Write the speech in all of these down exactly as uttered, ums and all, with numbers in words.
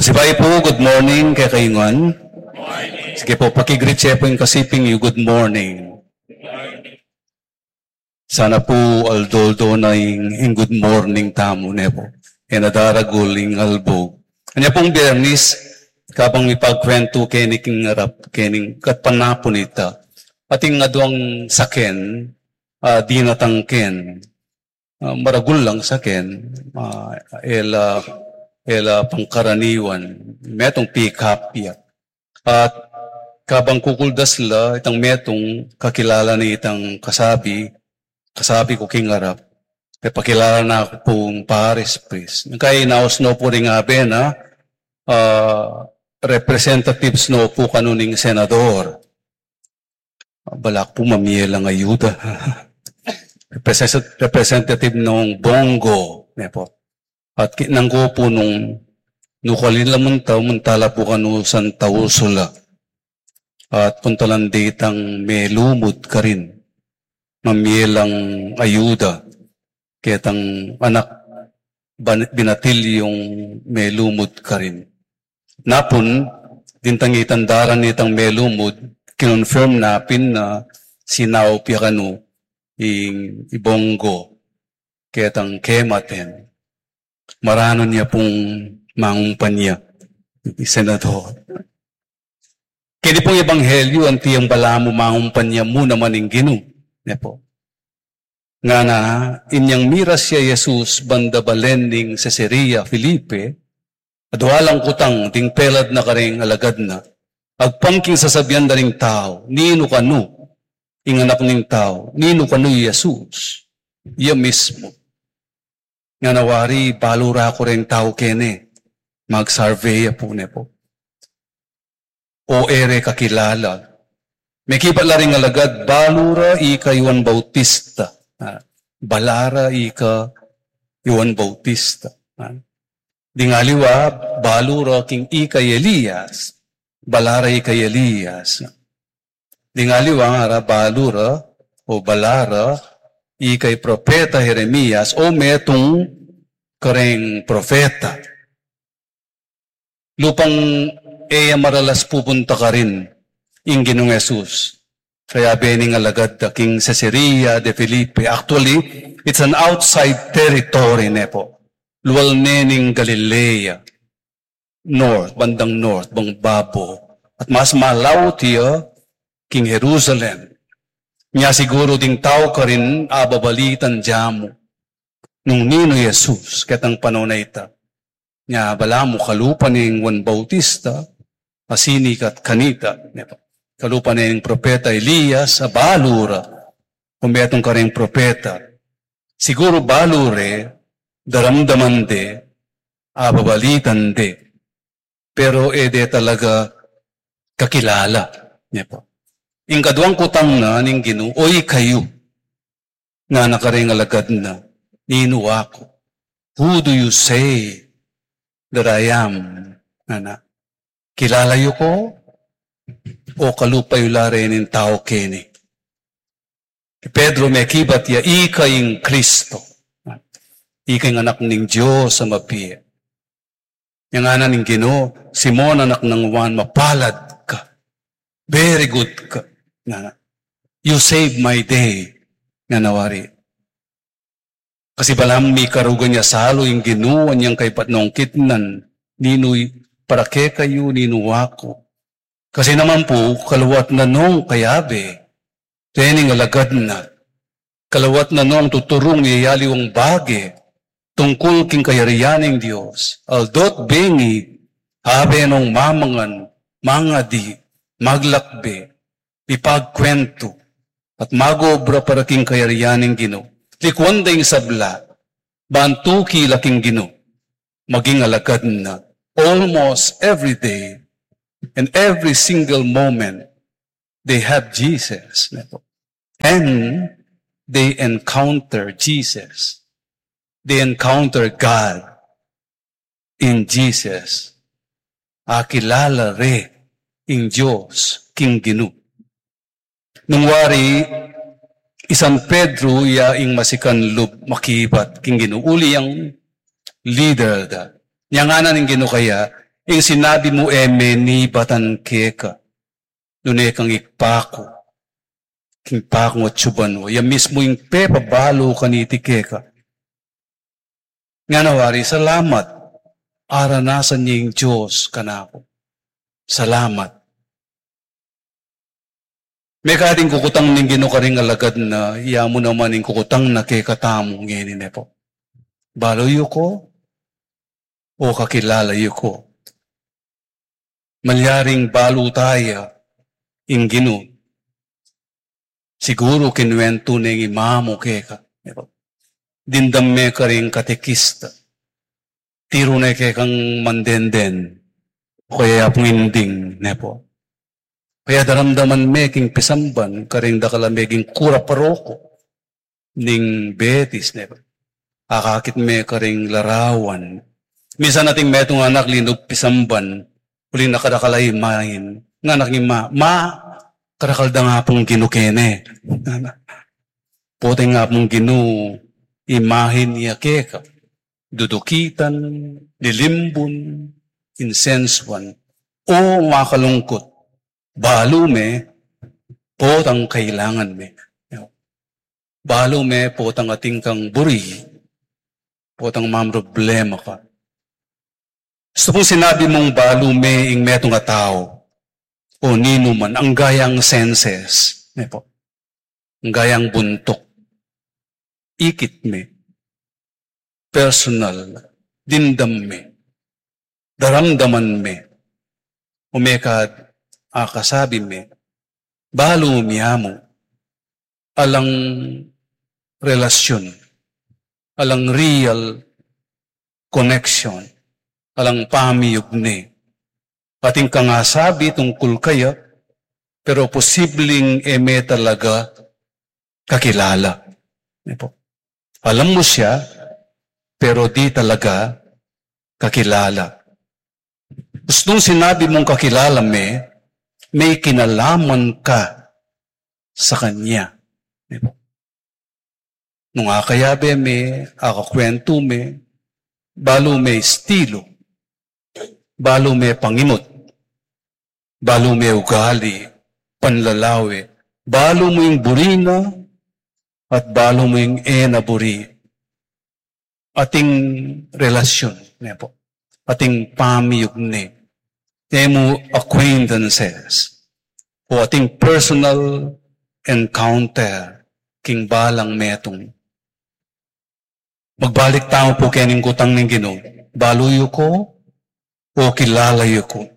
Pasibayu pu, good morning kekayu ngan. Sige pu, paki-greet ye pu ing kasiping yu, good morning. Sana pu aldo-aldo na ing, ing good morning tamu, ne pu. E na daragul ing albug. Anya pung Biyernis, kabang mipagkwentu keni king arap, keni king panapun ita. Atin aduang saken, ah, dinatang ken. Ah, maragul lang saken, ah, e la, e la pangkaraniwan, metung pick up ya. At kabang kukuldas la, itang metung kakilala na itang kasabi, kasabi ku king arap, e pakilala na ku pung pares, pres. Kaya inaus no pu ring abe na, ah, representatives no pu kanu ning senador. Balak pu mamie lang ayuda. Represent-, representative nung Bongo, ne pu. At ki-, nang ko pu nung nukalin la munta, munta la pu kanu Santa Ursula. At puntalan de itang melumud karin. Mamie lang ayuda. Ketang anak ban-, binatilyung melumud karin. Napun, dintang itang daran nitang melumud, kinonfirm na pin na sinaup ya kanu ing, i Bongo, ketang kematen. Maranun ya pung mangumpanya, i senador. Keni pung ebanghelyu, anti yang balamu mangumpanya mu naman ing Ginu, ne pu. Ngana, inyang miras ya i Jesus banda balen ning Cesarea Filipo, adua lang kutang ding pelad na kareng alagad na. Agpang king sasabian da ring tau, ninu kanu ing Anak ning Tau, ninu kanu i Jesus? Iya mismu. Ngana wari, balu ra ku reng tau kene, mag-survey ya pu, ne pu. O e re kakilala. Mekibat la ring alagad, balu ra ika i Juan Bautista. Ah, bala ra ika i Juan Bautista. Ah. Ding aliwa, balu ra king ika i Elias. Bala ra ika i Elias. Ding aliwa ngara, balu ra, o bala ra, ika i propeta Jeremias, o metung kareng propeta. Lupang e ya maralas pupunta karin ing Ginung Jesus. Kayabe ning alagad da king Caesarea de Filipo. Actually, it's an outside territory, ne pu. Lual ne ning Galilea. North, bandang north, bang babo. At mas malaut ya king Jerusalem. Nya siguru ding tau karin ababalitan da mu nung ninu i Jesus ketang panaun a ita. Nya balamu kalupa neng Juan Bautista, a sinikat kanita, ne pu. Kalupa neng propeta Elias, a balu ra, o metung kareng propeta. Siguru balu re, daramdaman de, ababalitan de. Pero e de talaga kakilala, ne pu. Ing kaduang kutang na ning Ginu, o ikayu, ngana kareng alagad na, ninu aku? Who do you say that I am? Ngana. Kilala yu ku? O kalupa yu la reng tau keni? I Pedro mekibat ya, ika ing Kristo. Ika ing Anak ning Dios a mabie. Yang ngana ning Ginu, Simon, anak nang Juan, mapalad ka. Very good ka. Ngana. You save my day. Ngana wari. Kasi balamu mikarugan ya salu ing Ginu, anyang kaybat nong kitnan, ninu para kekayu, ninu aku. Kasi naman pu, kaluat na nong kayabe, rening alagad na. Kaluat na nong tuturung ya aliwang bage, tungkul king kayarian ning Dios. Aldo't bengi, abe nong mamangan, mangadi, maglakbe, ipagkwentu, at mag-obra para king kayarian ning Ginu. Likuan da ing sabla, ban tuki la king Ginu. Maging alagad na. Almost every day, and every single moment, they have Jesus. And they encounter Jesus. They encounter God in Jesus. Akilala re ing Dios king Ginu. Nung wari, i San Pedro ya ing masikan lub makibat king Ginu, uli yang leader da. Nyang ngana ning Ginu kaya, Ing sinabi mu e me nibatan keka, nune kang ikpaku, king paku at suban wa. Ya mismu ing pepabalu kaniti keka. Ngana wari, salamat, aranasan ya ing Dios kanaku. Salamat. Mekad ing kukutang ning Ginu karing alagad na, ya mu naman ing kukutang na kekatamu ngeni, ne po. Balu yu ko, o kakilala yu ko? Malyaring balu taya ing Ginu. Siguru kinuwentu ne ning ima mu keka, ne po. Dimdam me karing katekista. Tiru ne kekang mandenden, o kaya yapung inding, ne po. Kaya daramdaman me king pisamban karing dakal a meging kura paroko ning Betis, ne po. Akakit me karing larawan. Minsan ating metung anak linub pisamban, uling nakadakal a imahin. Ngana king ima, "Ma, kadakal da nga pung Ginu kene." Potang nga pung Ginu, imahin ya keka. Dudukitan, lilimbun, insensuan, o makalungkut, balu me, potang kailangan me. Balu me, potang ating kang buri, potang mamroblema ka. Gustu kung sinabi mung balu me ing metung a tau, o ninu man, angga yang senses, ne po. Angga yang buntuk. Ikit me. Personal. Dimdam me. Daramdaman me. O mekad akasabi me. Balu me ya mu. Alang relasyon. Alang real connection. Alang pamiyugne. Atin kang asabi tungkul kaya, pero posibleng e me talaga kakilala. Ne po. Alam mo siya, pero di talaga kakilala. Gustung sinabi mung kakilala me, may kinalaman ka sa kanya. Ne po. Nung akayabe me, akakwentu me, balu me estilo, balu me pangimut, balu me ugali, panlalawe, balu mu ing buri na, at balu mu ing e na buri. Ating relasyon, ne po. Ating pamiyugne. E mu acquaintances. O ating personal encounter king balang metung. Magbalik tamu pu kening kutang ning Ginu. Balu yu ko, o kilala yu ko?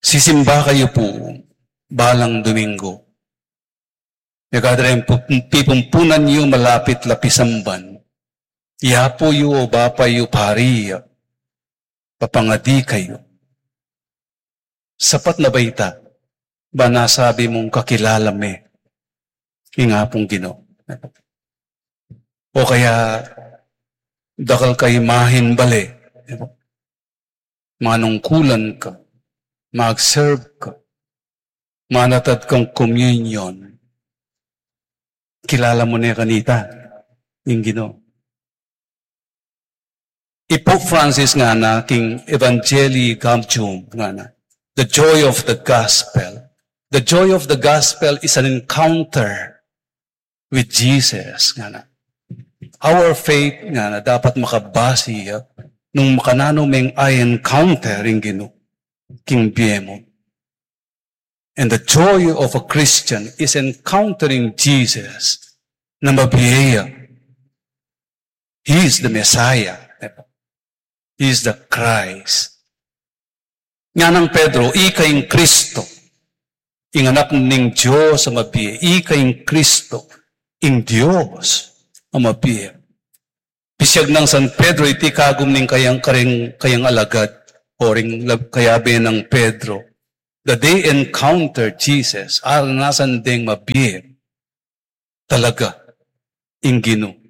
Sisimba kayu pu balang Domingo. Mekad reng pu-, pipumpunan yu malapit la pisamban. Yapu yu o bapa yu pari, papangadi kayu. Sapat na ba ita? Ba nasabi mung kakilala me ing Apung Ginu? O kaya dakal ka imahin bale, manungkulan ka, mag-serve ka, manatad kang communion, kilala mu ne kanita ing Ginu? I Pope Francis ngana king Evangelii Gaudium ngana, the joy of the gospel. The joy of the gospel is an encounter with Jesus ngana. Our faith ngana dapat makabase ya nung makananu meng a-encounter ing Ginu king bie mu. And the joy of a Christian is encountering Jesus na mabie ya. He is the Messiah. He is the Christ. Ngana nang Pedro, ika ing Kristo, ing Anak ning Dios a mabie. Ika ing Kristo, ing Dios a mabie. Pisiag nang San Pedro iti kagum ning kayang, karing, kayang alagad, o ring lag-, kayabe nang Pedro. The day encounter Jesus, aranasan deng mabie talaga ing Ginu.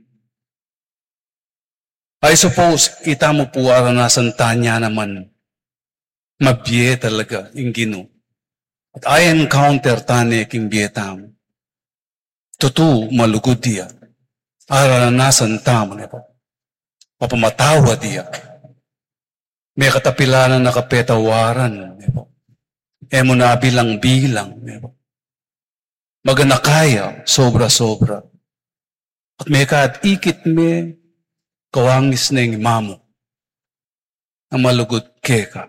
I suppose, itamu pu aranasan tana naman mabie talaga ing Ginu. At a-encounter tane king bie tamu. Tutu, malugud ya. Aranasan tamu ne pu. Mapamatawad ya. Mekatapilan na kapetawaran, e mu na bilang-bilang, e mu. Maganaka ya, sobra-sobra. At mekad ikit me, kawangis neng imamu a malugud keka.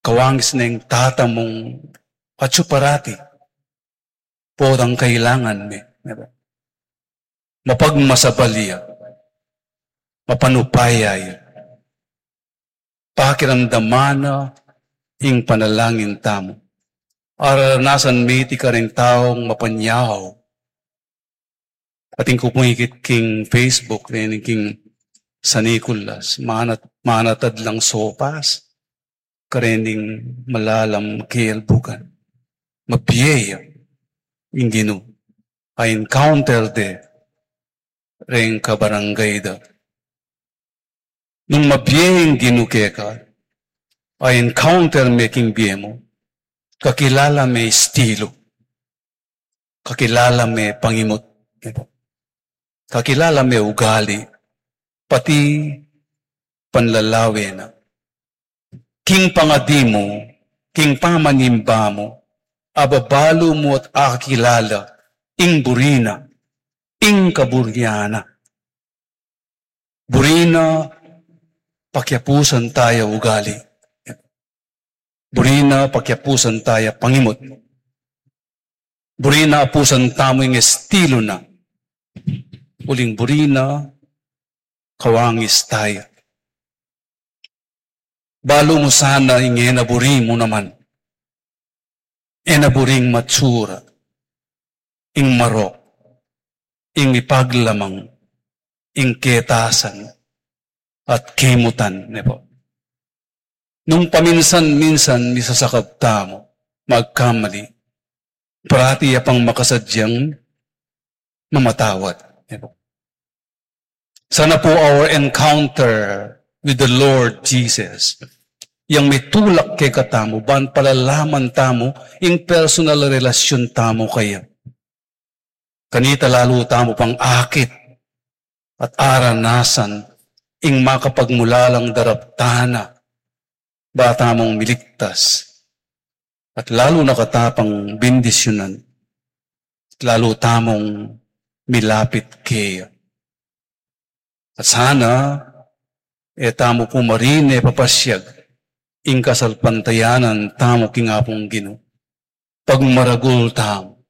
Kawangis neng tatamung atsu parati. Potang kailangan me. Mapagmasabal ya. Mapanupaya ya. Pakiramdaman na ing panalangin tamu. Aranasan me iti kareng taung mapanyaw. Atin ku pung ikit king Facebook, rin king San Nicolas, manat-, manatad lang sopas, karening malalam kelbugan. Mabie ya ing Ginu. A-encounter de reng kabarangay da. Nung mabie ing Ginu keka, a-encounter me king bie mu, kakilala me estilu, kakilala me pangimut, kakilala me ugali, pati panlalawe na. King pangadi mu, king pamanimba mu, ababalu mu at akilala ing buri na, ing kaburian na. Buri na pakiapusan taya ugali. Buri na pakiapusan taya pangimut. Buri na apusan tamu ing estilu na. Uling buri na kawangis taya. Balu mu sana ing e na buri mu naman. E na buring matsura, ing marok, ing mipaglamang, ing ketasan, at kimutan, ne po. Nung paminsan-minsan misasakab tamu, magkamali, parati ya pang makasadyang mamatawad. Sana po our encounter with the Lord Jesus, yang mitulak kekatamu, ban palalaman tamu ing personal relasyon tamu kaya. Kanita lalu tamu pang akit at aranasan ing makapagmulalang daraptan na ba tamung miligtas, at lalu na kata pang bendisyunan, at lalu tamung milapit keya. At sana, e tamu pu marine papasyag ing kasalpantayanan tamu king Apung Ginu. Pagmaragul tamu,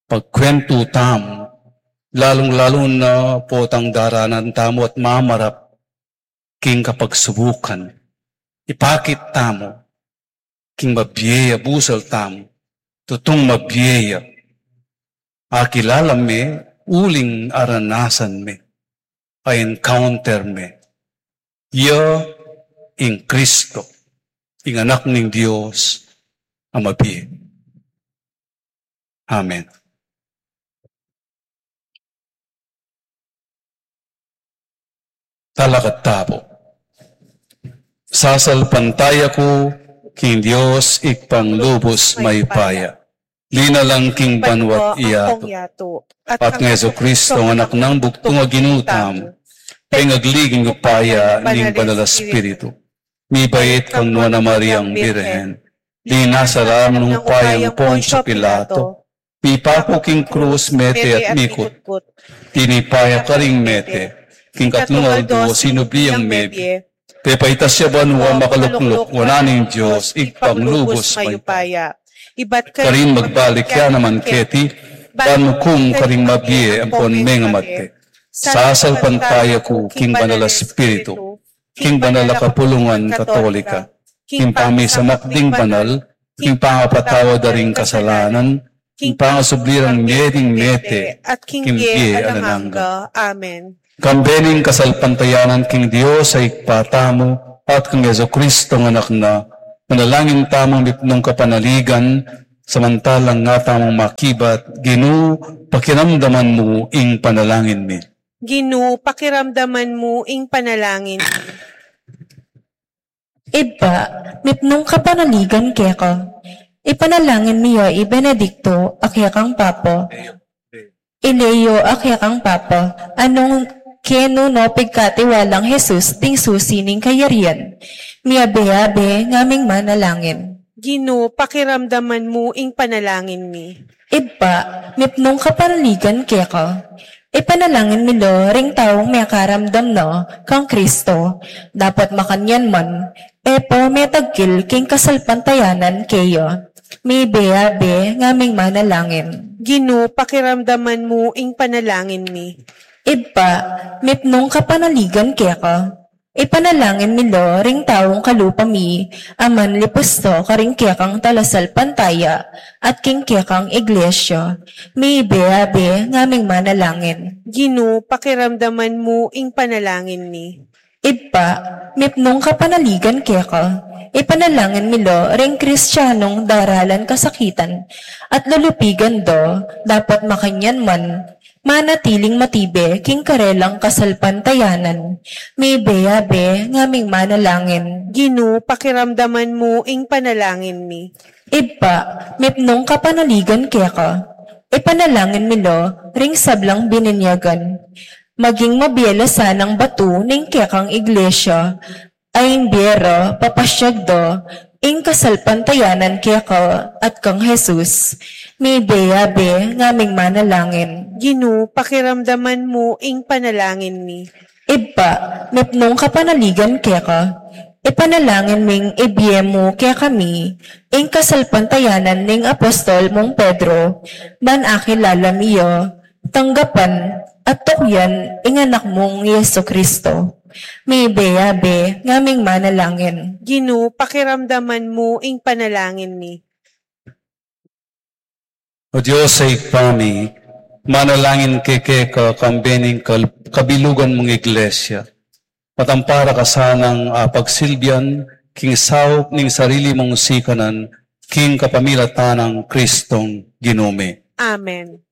pagkwentu tamu, lalung-lalu na potang daranan tamu at mamarap king kapagsubukan. Ipakit tamu king mabie ya busal tamu, tutung mabie ya. Akilala me, uling aranasan me, a-encounter me. Ya ing Kristo, ing Anak ning Dios a mabie. Amen. Talakad tamu. Sasalpantaya ku king Dios Ibpang lubus mayupaya, linalang king banwa't yatu, at kang Jesucristo a Anak nang bugtung a Ginu tamu, pengagli king upaya ning Banal a Espiritu, mibait kang Nuan a Mariang Birhen, linasa la nung upayang Poncio Pilato, mipaku king krus, mete at mikutkut. Tinipa ya karing mete, king katlung aldo sinubli yang mebie. Pepaitas ya banua, makalukluk wanan ning Dios Ibpang lubus mayupaya. Ibat karin magbalik ya naman keti, ban mukum karing mabie ampon mengamate. Sasalpantaya ku king Banal a Espiritu, king banal a kapulungan Katolika, king pamisamak ding banal, king pangapatawad da ring kasalanan, king pangasubli rang mie ding mete, at king bie alang angga. Amen. Kambe ning kasalpantayanan king Dios a Ibpa tamu, at kang Jesucristo a Anak na, manalangin tamung mipnung kapanaligan, samantalang nga tamung makibat, Ginu, pakiramdaman mu ing panalangin mi. Ginu, pakiramdaman mu ing panalangin mi. Ibpa, mipnung kapanaligan keka. Ipanalangin mi ya i Benedicto a kekang Papa, i Leo a kekang Papa, a nung Kenu no pigkatiwalang Jesus ding susi ning kayarian. Miabe-abe ngaming manalangin. Ginu, pakiramdaman mu ing panalangin mi. Ibpa, mipnung kapanaligan keka. Ipanalangin mi lo ring taung mekaramdam na kang Kristo, dapot makanyan man, e pa metagkil king kasalpantayanan keya. Miabe-abe ngaming manalangin. Ginu, pakiramdaman mu ing panalangin mi. Ibpa, mipnung kapanaligan keka. Ipanalangin mi lo ring taung kalupa mi, a manlipusta karing kekang talasalpantaya, at king kekang iglesia. Miabe-abe ngaming manalangin. Ginu, pakiramdaman mu ing panalangin mi. Ibpa, mipnung kapanaligan keka. Ipanalangin mi lo ring Kristianong daralan kasakitan, at lulupigan da, dapot makanyan man, manatiling matibe king karelang kasalpantayanan. Miabe-abe ngaming manalangin. Ginu, pakiramdaman mu ing panalangin mi. Ibpa, mipnung kapanaligan keka. Ipanalangin mi lo ring sablang bininyagan. Maging mabie la sanang batu ning kekang iglesia, a ing bie ra papasiag da ing kasalpantayanan keka at kang Jesus. Miabe-abe ngaming manalangin. Ginu, pakiramdaman mu ing panalangin mi. Ibpa, mipnung kapanaligan keka. Ipanalangin ming ibie mu kekami ing kasalpantayanan ning apostol mung Pedro, ban akilala mi ya, tanggapan, at tukyan ing Anak mung Jesu Kristo. Miabe-abe ngaming manalangin. Ginu, pakiramdaman mu ing panalangin mi. O Dios a Ibpa mi, manalangin kami keka kambe ning kal-, kabilugan mung iglesia. Patampara ka sanang, ah, pagsilbian king saup ning sarili mung sikanan, king kapamilatan nang Kristong Ginu mi. Amen.